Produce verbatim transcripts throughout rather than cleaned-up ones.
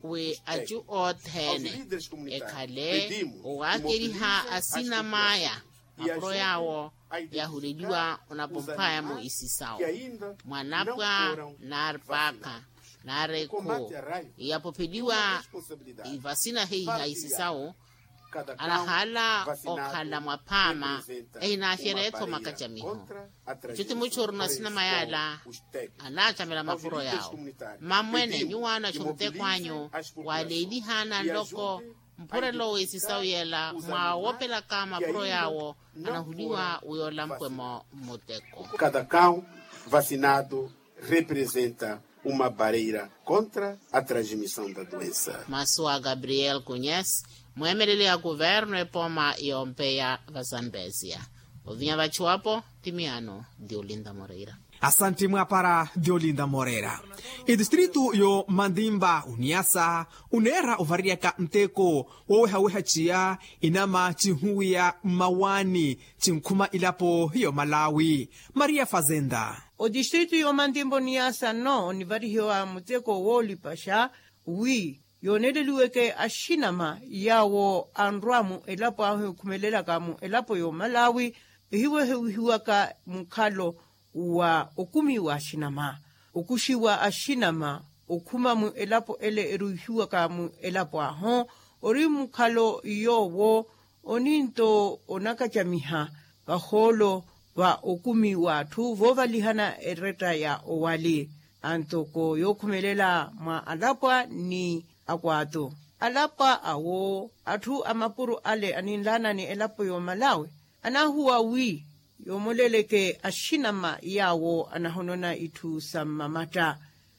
wi acu othene ekhale owaakeriha asinam'aya mapuro yaawo yahuleliwa onapumphaya-mo isisawu mwanapwa naari paakha naari ekhu yapupheliwa vasina heiha isisawu anahaala okhala mwaphaama ehinaaxereya-tho makacamiho. Icu ti muchuru na sinama yaala anaacamela mapuro yaawo. Mmamwene nyuwaana axumuteko anyu waleeliha nanloko mphurelo w'esisawu yeela mwaawopelaka mapuro yaawo anahuliwa wi olamphwe-mo mmuteko. Kada kau vasinado representa uma bareira kontra a transmisao da doensa. Masu a gabriel kunyes mweemeleli a kuvernu epooma yoompeya vasambesia ovinya vachuwapo ti miyaano diolinda moreira. Asanti mwaapara diolinda moreira. Itistritu yo mandimba uniasa uneera ovariyaka nteko wowehaweha ciya inama cinhuwiya mmawaani cinkhuma ilapo yo malawi. Maria fazenda. Otistritu yo mandimba oniasa nno onivarihiwa muteko woolipaxa wi yooneleliweke axinama yaawo anrwa mu elapo ahu ekhumelelaka mu elapo y'omalawi ehiwehewihiwaka mukhalo wa okumi w'axinama okuxiwa axinama okhuma mu elapo ele eruihiwaka mu elapo ahu ori mukhalo yoowo oninto onakacamiha vahoolo va okumi w'atthu voovalihana eretta ya owali antoko yookhumelela mwa alapwa ni akwaatu alapwa awo atthu a mapuro ale aninlaana ni elapo y'omalawi anahuwa wi yoomoleleke axinama yaawo anahonona itthu sa mmamatta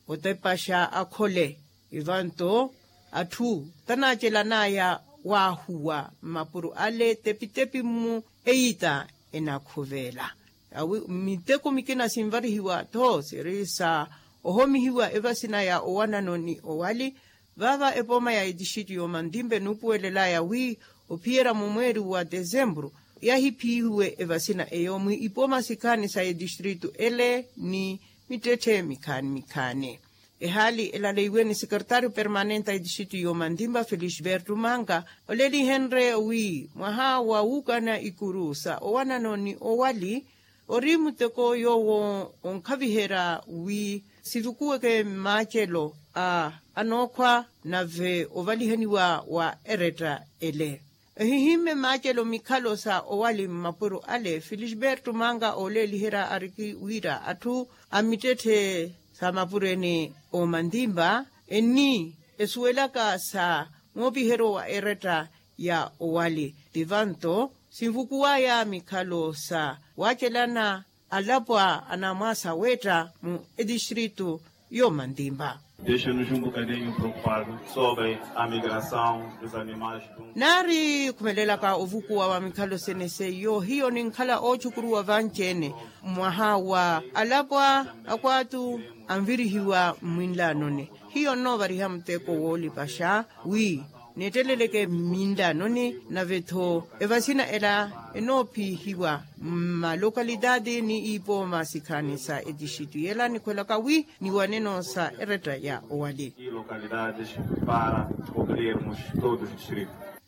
otepaxa akhole ivanto atthu tanaacelanaya waahuwa mmapuro ale tepitepi-mu eyita enakhuveela awi miteko mikina sinvarihiwa tho siri sa ohomihiwa evasina ya owanano ni owali vaava epooma ya etixitu y'omantimpe nuupuwelelaya wi ophiyerya mumweeri wa tesempuru yahiphiyihiwe evasina eyo mwi ipooma sikhaani sa etistritu ele ni mittetthe mikhaani mikhaani ehaali elaleiwe ni sekeretario permanente a etixitu y'omantimpa felisberto manga olelihenrye wi mwaha wa wuukana ikuru sa owanano ni owali ori muteko yoowo onkhaviherya wi sivukuweke mmaacelo a anookhwa nave ovalihaniwa wa eretta ele ehihimme maacelo mikhalo sa owali mmapuro ale felisberto manga ooleeliherya ariki wira atthu a mittetthe sa mapuro ene omantimpa enni esuwelaka sa moopiheryo wa eretta ya owali tivanto sinvukuwaya mikhalo sa waacelana alapwa anamwaasa wetta mu etistritu y'omantimpa. Deixa-nos um bocadinho preocupado sobre a migração dos animais. Naari khumelelaka ovukuwa wa mikhalo sene seiyo hiyo ninkhala oochukuruwa vanci-ene mwaha wa alapwa akwaatu anvirihiwa mmwinlaanoni hiyo nnoovariha muteko woolipaxa wi neetteleleke mminlaanoni nave-tho evasina ela enoophiyihiwa mmalokalitaati ni ipooma sikhaani sa etixitu yela nikhwelaka wi niwaneno sa eretta ya owali.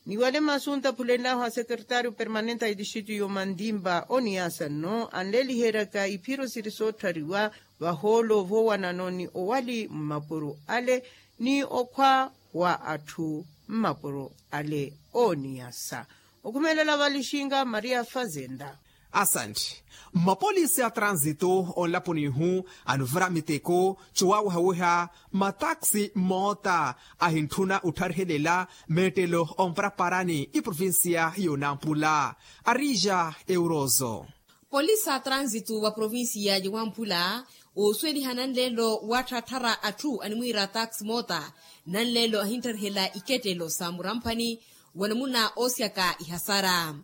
Niwale masu ntaphulenlahu a sekeretario permanente a etixitu y'omantimpa oniyasa nno anleeliheryaka iphiro siri sootthariwa vahoolo voowanano ni owali mmapuro ale ni okhwa wa atthu mmapuro ale ooniyasa okhumelela valixinga maria fazenda. Asanti. Mmapolisi a tranzito onlaponi ihu anuvira miteko cowawehaweha mataxi moota ahintthuna ottharihelela meettelo ompraparani iprovincia y'onampula arija eurozo. Polisi a tranzito wa provincia ya wamphula oosweliha nanleelo waatthaattharya atthu animwiira taxi moota nanleelo ahinttarihela ikettelo sa muramphani wa namuna oosyaka ihasara.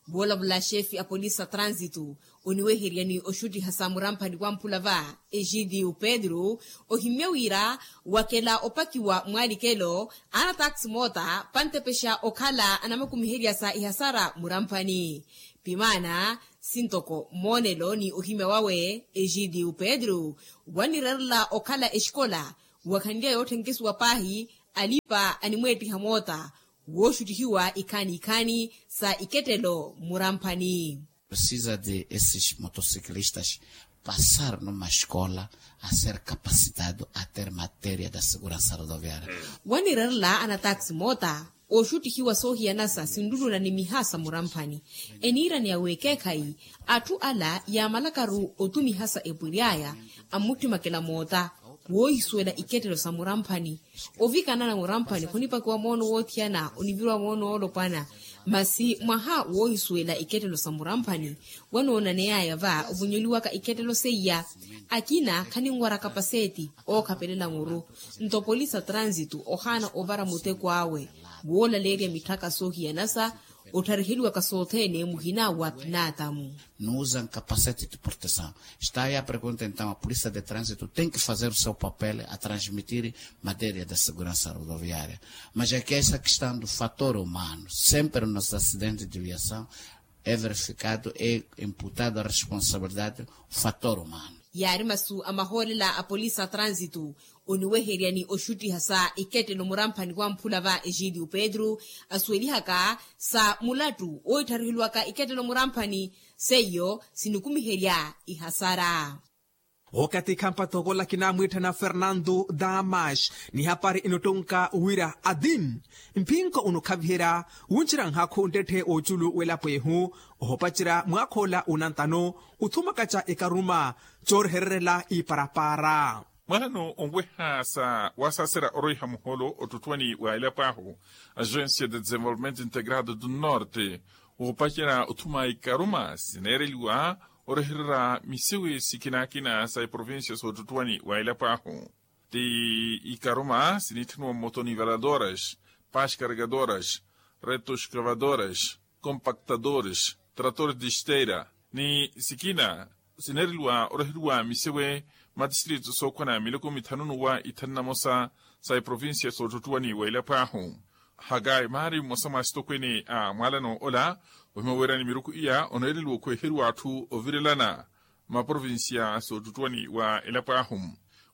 Voolavula xefi a polisi a tranzito oniweheryani oxuttiha sa muramphani wamphula va egidio pedro ohimmya wira wakela opakiwa mwaalikelo ana taxi moota pantepexa okhala anamakumiherya sa ihasara muramphani. Pimaana sintoko moonelo ni ohimya wawe egidio pedro wanirerela okhala exikola wakhanlya yootthenkesuwa paahi Alipa animweettiha moota wooxuttihiwa ikhaani ikhaani sa ikettelo muramphani. Precisa de esses motociclistas passar numa escola a ser capacitado a ter matéria da segurança rodoviária. Wanirerela anataxi moota ooxuttihiwa soohiyanasa sinluluna ni miha sa muramphani. Eniiraneya w'ekeekhayi atthu ala yaamalakaru otumiha sa epwiry'aya ammuttimakela moota woohisuwela ikettelo sa muramphani. Ovikanana muramphani khunipakiwa moono woothiyana oniviriwa moono woolopwana. Masi mwaha woohisuwela ikettelo sa muramphani wanoonaneyaya va ovonyoliwaka ikettelo seiya. Akina khaninwara kapaseeti ookhapelela muru. Nto polisi a transitu ohaana ovara muteko awe woolaleerya mitthaka soohiyanasa ottariheliwaka sothene muhina wa pinaatamu. Não usam capacete de proteção. Está aí a pergunta, então, a polícia de trânsito tem que fazer o seu papel a transmitir matéria da segurança rodoviária. Mas é que essa questão do fator humano, sempre nos acidentes de viação é verificado, é imputado a responsabilidade o fator humano. Yaari masu a mahoolela a polisi a transitu oniweheryani oxuttiha sa ikettelo muramphani wa mphula va egídio pedro asuwelihaka sa mulattu ooitthariheliwaka ikettelo muramphani seiyo sinikumiherya ihasara. Okathi khampathokola kinamwiitthana fernando damas ni hapari enottonka wira adim mphinko onokhaviherya wuncerya nhaakhu nttette w'oculu w'elapo ehu ohopacerya mwaakhoola unantano othumakaca ekaruma coorehererela iparapara. Mwaano onweha sa wasaserya oroiha muholo ottuttwani wa elapo ahu agencia de desenvolvimento integrado do norte woopacela othuma ikaruma sineereliwa orehererya misewe sikinakina sa iprovincia soottuttwani wa elapo ahu ti ikaruma siniitthaniwa mmoto nivaladoras, pascargadoras, reto escravadoras, compactadores, tratores de esteira ni sikina sineereliwa oreheriwa misewe matistritu sookhwana miloko mithanu n'uwa ithanu na mosa sa iprovincia soottuttwani wa elapo ahu. Hakayi maari mmosa mwa asitokweene a mwaalano ola ohima weerani miruku iya oneereliwa okhweeheriwa atthu ovirelana maprovincia soottuttwani wa elapo ahu.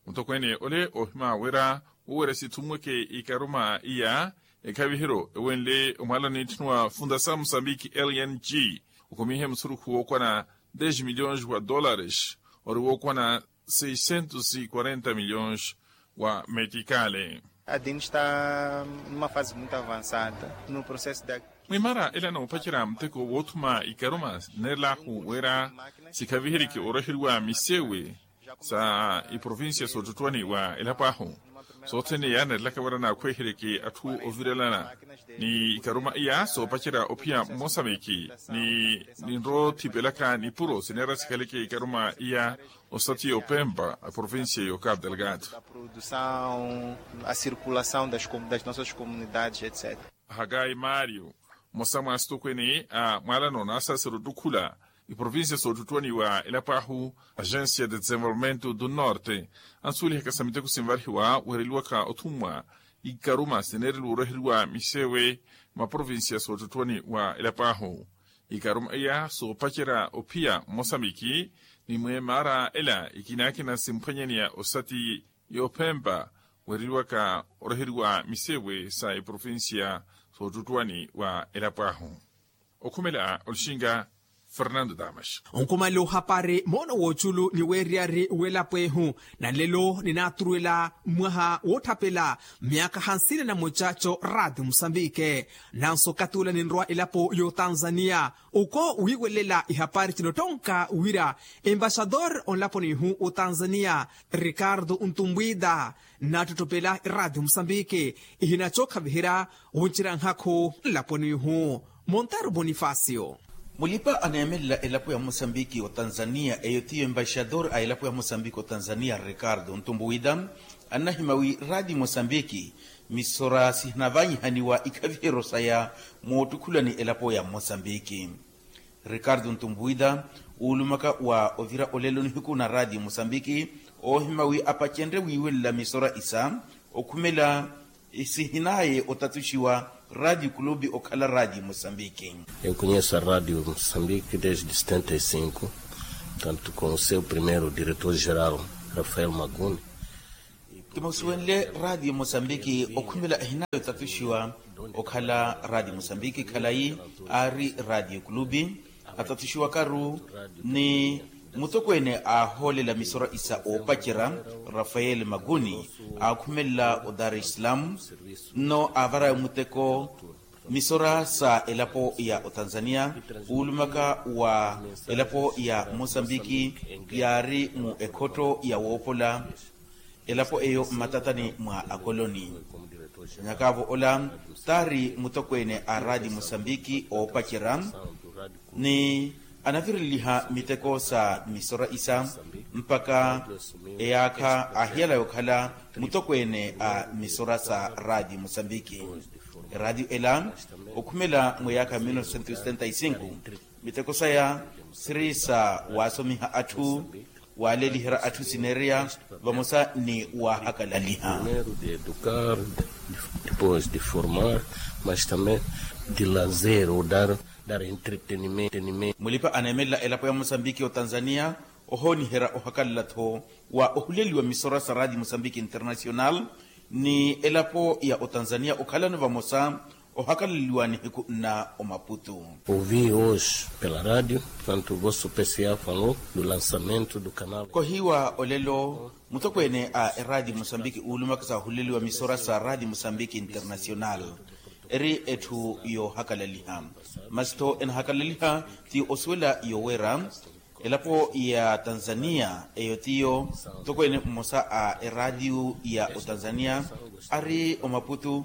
Mutokweene ole ohima wira woweerya sithumweke ikaruma iya ekhaviheryo ewenle omwaalano niitthaniwa fundasamu sambiki lng okomihe musurukhu wookwana des milhões wa dólares ori wookwana seiscentos e quarenta milhões wa metikale. Adin esta numa fase muito avançada no processo da. Mwimara ela noopacerya muteko woothuma ikaruma neerelaahu wira sikhaviherike oreheriwa misewe sa iprovincia soottuttwani wa elapo ahu sothene yaanerelaka wira naakhweeheryeke atthu ovirelana ni ikaruma iya soopacerya ophiya mmosamiki ni ninrothipelaka nipuro sineera sikhaleke ikaruma iya osati opempa a provincia yo cabo delgado. Produção a circulação das nossas comunidades etc. Hakayi mario mmosa mwa asitokweene a mwaalano naasasera ottukhula iprovincia soottuttwani wa elapo ahu agencia de desenvolvimento do norte ansuwelihaka sa miteko sinvarihiwa weereliwaka othumwa ikaruma sineereliwa oreheriwa misewe maprovincia soottuttwani wa elapo ahu. Ikaruma iya soopacerya ophiya mmosamiki ni mweemara ela ikinakina simphwanyaneya osati yoophempa weereliwaka oreheriwa misewe sa iprovincia soottuttwani wa elapo ahu. Okhumela olixinga fernando damas. Onkhumale ohapari moono w'oculu ni weeriyari w'elapo ehu na nlelo ninaaturuwela mwaha wootthapela myaakha hansina na mucaco raati musambike. Nanso okathi ula ninrowa elapo y'otanzaniya oko wiiwelela ihapari cinottonka wira embaxador onlaponi ihu otanzaniya ricardo ntumbwida nnaattottopela iraati musambiki ihinacookhaviherya wuncerya nhaakhu nlaponi ihu. Montero bonifacio. Mulipa aneemelela elapo ya mosambiki otanzaniya eyo tiyo embaxador a elapo ya mosambiki otanzaniya ricardo ntumbuwida annahima wi raati mosambiki misora sihinavanyihaniwa ikhaviheryo saya moottukhulani elapo ya mosambiki. Ricardo ntumbuwida uulumaka wa ovira olelo nihiku na raati mosambiki oohima wi apacenrye wiiwelela misora isa okhumela sihinaye otatuxiwa raati kulubi okhala raati mosambiki. Enkunyesa raati mosambiki desde setenta e cinco tanto com o seu primeiro diretor geral rafael maguni. Kimusuwenle raatiyo mosambiki okhumela ehinayo tatuxiwa okhala raatiyo mosambiki khalayi aari raatiyo kulupi atatuxiwakaru ni mutokweene aahoolela misora isa oopacerya rafael makuni aakhumelela o dar es salaam nno aavarayo muteko misora sa elapo ya otanzania wuulumaka wa elapo ya mosambiki yaari mu ekhotto ya woopola elapo eyo mmatatani mwa akoloni nyakaavo ola taari mutokweene a raatiyo mosambiki oopacerya ni anavireliha miteko sa misora isa mpakha eyaakha aahiyala yookhala mutokweene a misora sa raatiyo mosambiki eraatiyo ela okhumela mweyaakha ya mil novecentos e setenta e cinco miteko saya siri sa waasomiha atthu waaleliherya atthu sineereya vamosa ni waahakalaliha de educar depois de formar mas também de lazer ou dar dar entretenimento mulipa aneemelela elapo ya mosambiki otanzania ohooniherya ohakalala-tho wa ohuleliwa misora sa raatiyo mosambiki internacional ni elapo ya otanzania okhalano vamosa ohakalaliwa nihiku nna omaputu. Ouvi hoje pela radio portanto vosso pca falou do lançamento do canal kohiwa olelo mutokweene a eraatiyo mosambiki uulumaka sa ohuleliwa misora sa raatiyo mosambiki internacional eri etthu yoohakalaliha masi-tho enahakalaliha ti osuwela yoowera elapo ya tanzania eyo tiyo mutokweene mmosa a eraatiyo ya otanzania ari omaputu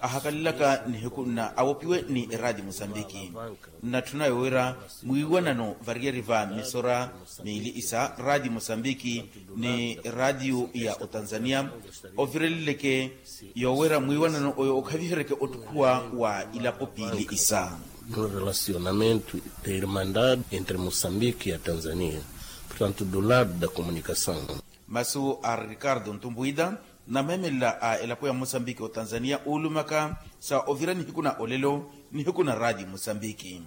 ahakalelaka nihiku nna awopiwe ni eraatiyo mosambiki nnatthuna yoowira mwiiwanano variyari va misora miili isa raatiyo mosambiki ni raatiyo ya otanzania ovireleleke yoowira mwiiwanano oyo okhaviheryeke ottukhuwa wa ilapo piili isa no relacionamento de irmandade entre mosambiki ya tanzania portanto do lado da comunicação masu a ricardo ntumbuida nameemelela a elapo ya mosambiki otanzania uulumaka sa ovira nihiku na olelo nihiku na raatiyo mosambiki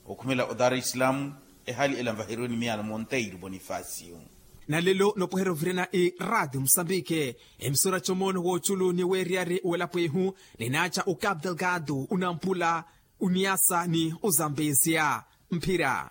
okhumela o dar es salaam ehaali ela nvaheriwe ni miyano monteiro bonifacio nalelo nopweherya ovirana iraatiyo mosambike emisora comoono wooculu ni weeriyari welapo ihu ninaaca o capital gado onampula oniasa ni ozambesia mphira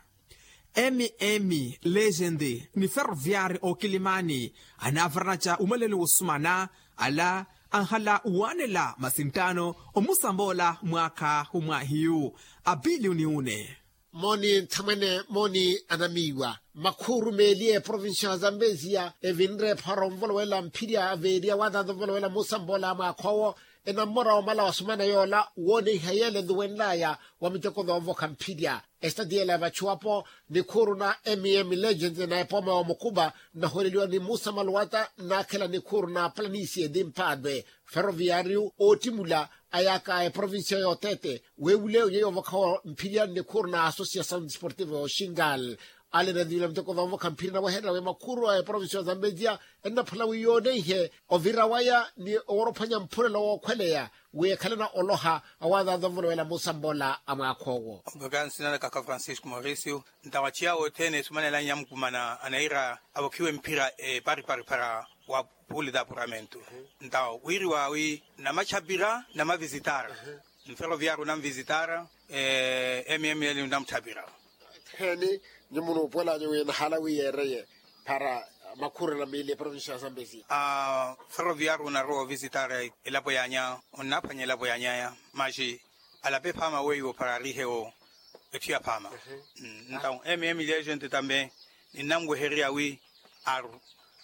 mm legend ni ferroviari okilimani anaavaranatya umalelo wosumana ala anhala waanela masinttano omusamboola mwaakha omwahiyu apiliyoni une mooni nthamwene mooni anamiiwa makhuuru meeli eprovincia ya zambezia evinre epharo onvolowela mphirya aveeriya waathanza onvolowela muusamboola mwaakha owo enammora omala wasumana yoola wooneiha yeela eluwenlaya wa miteko thoovokha mphirya estatiela ya vachuwapo nikhuuru na mm legend na epooma wa mukuba nnaholeliwa ni musa maluwata nnaakhela nikhuuru na planisia eti mpaatwe ferroviariu oottimula ayaka a eprovincia yootete weewule onyeya ovokha mphirya nnikhuuru na associação desportiva ya oxingal ale na nivila miteko thoovokha mphirya naweherela wi makhuuru a eprovincia ya zambezia ennaphala wi yooneihe ovira waya ni oworophwanya mphurelo wookhweleya wi ekhalana oloha awaazaaza ovolowela muusamboola a mwaakha owo ompaka nsinanaka kha francisco mauricio ntawaciya wothene esumanelanya mukumana anaira avokhiwe mphira eparipari para wa pule d'apuramento ntawa wiriwa wi namachapira namavisitar mferoviaru namvisitar mml namthapira heni nyi munuupuwelanye wi nahala wi yeereye para makhurela miili eprovincia ya zambezia ferroviaru onarowa ovisitara elapo yanya onnaphwanya elapo yanyaya maxi alape phaama weiwo para arihewo etthu ya phaama ntawo mm legent tambe ninnamwehererya wi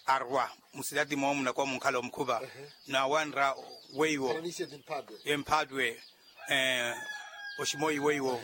arwa musitati moomu nakowa munkhala omukhupa nawanra weiwo emphaatwe oximoyi weiwo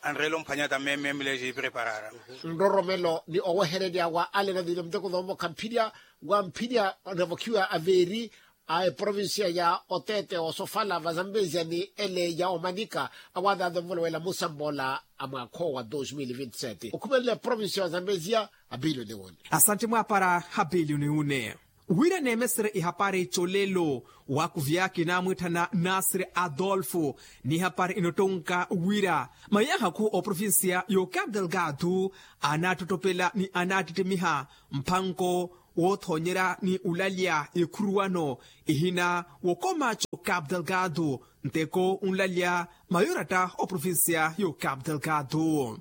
anreela omphwanyata mmemile xipreparara nroromelo ni owehererya wa ale navile muteko thoomokha mphirya wa mphirya anavokhiwa aveeri a eprovincia ya otete osofala vazambezia ni ele ya omanika awaathaatha ovolowela musamboola a mwaakha owa dos mil vinti sete okhumelela eprovincia ya zambezia apiliyoni wone asantte mwaapara apiliyoni wone wira neemesere ihapari colelo wakuvyaki naamwitthana nasiri adolfo n'ihapari inottonka wira mayaha khu oprovincia y'ocapital gado anaattottopela ni anaattittimiha mphanko woothoonyerya ni olalya ekhuruwano ehina wookomaco capu delgado nteko onlalya mayoratta oprovincia yo capu delgado.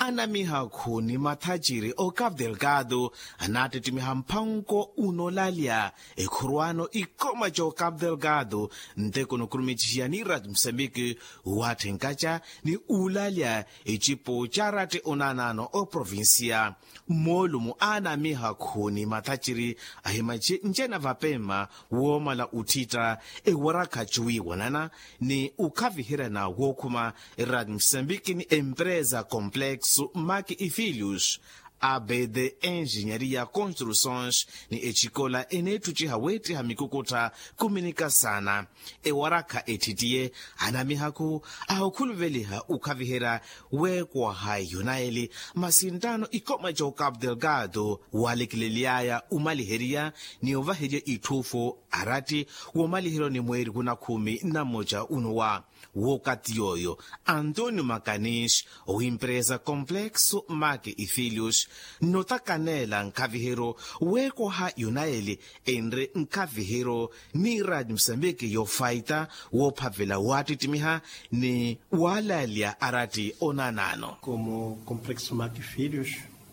Anamihakhu ni mathaciri o capu delgado anaattittimiha mphanko unolalya ekhuruwano ikoma co capu delgado nteko nukurumichihiya ni rati musambiki watthenkaca ni ulalya icipo ca rati onanano oprovincia. Moolumo anamihakhu ni mathaciri ahimace ncena vapemma woomala uttitta ewarakha cuwiiwanana ni ukhaviheryana wookhuma rati musambiki ni empresa complexo maki ifilius abd enjinyaria construções ni ecikola eneetthuciha weettiha mikukuttha kuminika saana. Ewarakha etthittiye anamihakhu ahukhuluveliha ukhaviherya weekwaha yonaeli masi nttaano ikoma ca ocapu delgado waalekileliyaya omaliheriya ni ovaherya itthuufo aratti woomaliheryo ni mweeri wunakhuumi na mmoca unowa. Wookathi yooyo antonio macanis owimpresa complexo maki ifilius nnotakaneela nkhaviheryo weekwaha yonaeli enre nkhaviheryo ni rati musambiki yoofaita woophavela waattittimiha ni waalalya aratti onanano. Como complexo maki filhos.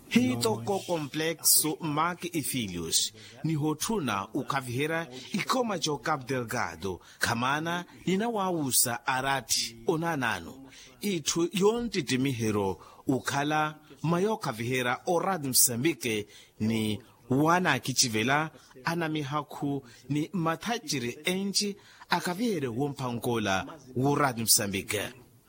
Hitoko complexo maki ifilius nihotthuna ukhaviherya ikoma ca ocapu delgado khamaana ninawaawusa aratti onanano itthu yonttittimiheryo okhala mwa yookhaviherya orati musambiki ni wanaakicivela anamihakhu ni mathaciri enci akhaviherye womphankoola worati musambiki.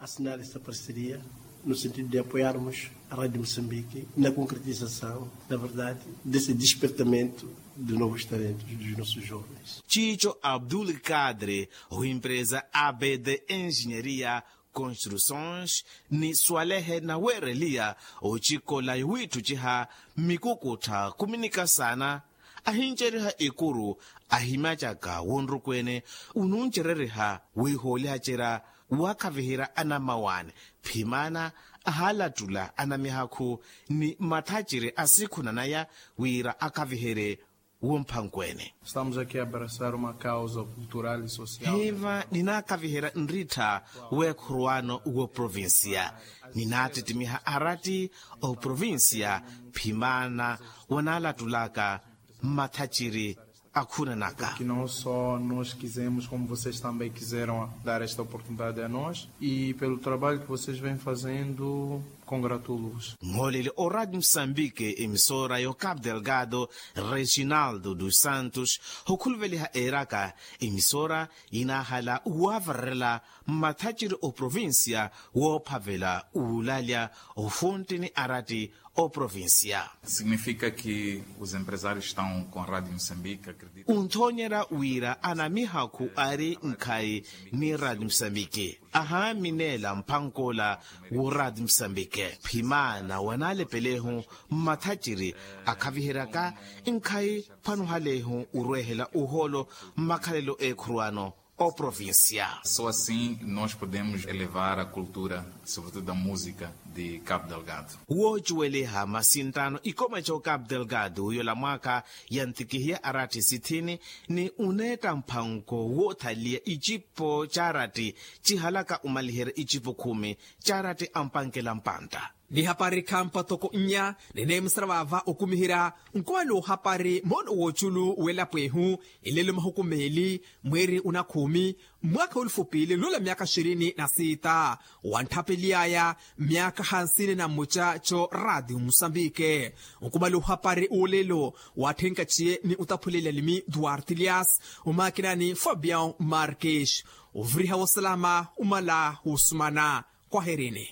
Assinar esta parceria no sentido de apoiarmos a radio de moçambique na concretização na verdade desse despertamento de novos talentos dos nossos jovens. Ciico abdul kadre owimpresa abd enjinyaria construções ni swalehe naweereliya ocikola yowiitthuciha mmikukuttha khuminika saana ahincereriha ekuru ahimacaka wonrukweene onuncereriha wiihoolihacerya waakhaviherya anammawaani phimaana ahaalattula anamihakhu ni mathaciri asikhunanaya wira akhaviherye womphankweene. Estamos aqui a abraçar uma causa cultural e social. Hiiva ninaakhaviherya nrittha weekhuruwano wooprovincia ninaattittimiha aratti oprovincia phimaana wanaalattulaka mmathaciri akhunanaka. Que não só nós quisemos como vocês também quiseram dar esta oportunidade a nós e pelo trabalho que vocês vêm fazendo. Congratulos. Mmooleli orati musambike emisora yo capu delgado reginaldo dos santos okhuluveliha eeraka emisora yinaahala wavarerela mmathaciri oprovincia woophavela uulalya ofuntti ni arati oprovincia. Significa que os empresários estão com a radio moçambique acredito. Unthoonyerya wira anamihakhu ari nkhayi ni radio moçambique ahaamineela mphankoola w'oraati musambike phimaana wanaalepelehu mmathaciri akhaviheryaka nkhayi phwanuhalehu orweehela ohoolo mmakhalelo eekhuruwano oprovincia. Só assim nós podemos elevar a cultura sobretudo a música de cabo delgado. Woocuweliha masi nttaano ikoma ca ocapu delgado yola mwaakha yantikihiya arathi sithini ni uneetta mphanko woothaliya icipo caarathi cihalaka omaliherya icipo khumi caarathi ampankela mpantta. Ni hapari khampa toko nnya nineemusera vaava okumiherya nkoolo hapari moono wooculu w'elapo ehu elelo mahuku meeli mweeri onakhuumi mwaakha w'elufu piili nlula myaakha xirini na siita. Wantthapeliyaya myaakha hansini na mmoca co raatiyo musambike. Nkumala ohapari olelo waatthenkatxiye ni otaphulela limi duarte lias omaakina ni fabian marques. Oviriha wosalama omala wosumana. Kwaherini.